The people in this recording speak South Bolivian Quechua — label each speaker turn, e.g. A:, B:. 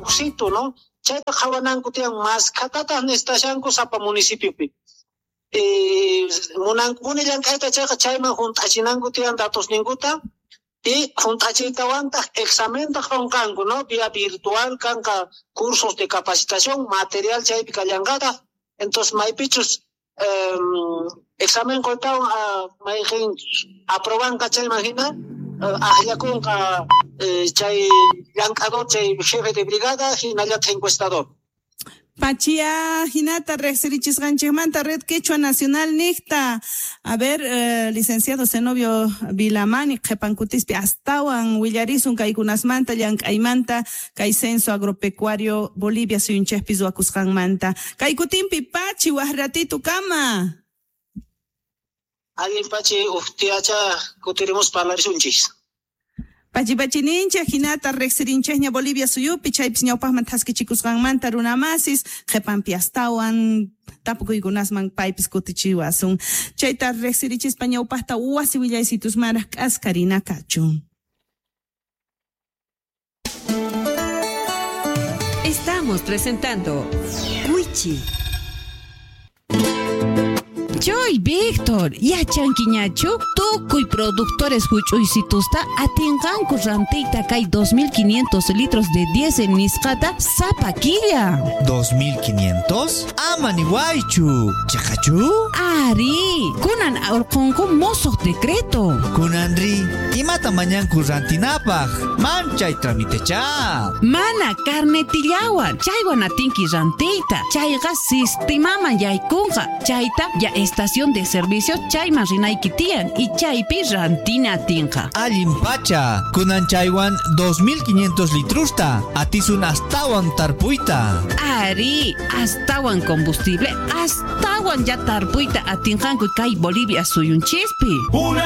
A: ujsitu, no? Chayta qhawananku tiyan, maskhatataq necesitashanku sapa municipiopi. Munankupuni llank'ayta chayqa chayman junt'achinanku tiyan datosninkuta y junt'achiytawantaq examenta qonqanku, no? Vía virtual kanqa cursos de capacitación, material chaypi kallanqataq. Entonces maypichus examen qoytawan mayqin aprobanqa chayman hina ajllakunqa chay llank'ador, chay jefe de brigada hinallataq encuestador.
B: Pachia hinata riqsirichisqanchikmanta Red Quechua Nacional niqta. A ver, licenciado Zenobio Vilamani, qhipankutispi astawan willarisun kaykunasmanta, llank'aymanta, kay censo agropecuario Bolivia suyunchikpi ruwakusqanmanta. Kaykutinpi Pachi, waj ratito kama.
A: Allin Pachi, uqtiacha kutirimus parlarisunchis.
B: Pachi pachininchik hinata riqsirinchikña Bolivia suyupi chaypis ñawpaqman thaskichikusqanmanta runamasis qhipanpi astawan tapukuykunasman paypis kutichiwasun. Chayta riqsirichispa ñawpaqta wasi willaysitusmanraq k'askarina kachun.
C: Estamos presentando Wichi. Choy, Víctor, yachankiñachu tukuy productores huch'uysitusta atinqanku rantiyta kay 2500 litros de diésel nisqata sapa killa.
D: 2500? Ama niwaychu. Chaqachu?
C: Ari, kunan urqunku mosoq decreto.
D: Kunanri, imata mañanku rantinapaq? Manchay tramitecha.
C: Mana carnetillawan, chaywan atinki rantiyta. Chayqa sistemaman yaykunqa. Chayta ya estación de servicio chayman rinayki tiyan y chaypi rantina atinqa.
D: Allin pacha, kunan chaywan 2500 litrusta, atisun astawan tarpuyta.
C: Ari, astawan combustible, astawan ya tarpuyta atinqanku kay Bolivia suyunchispi.
E: Una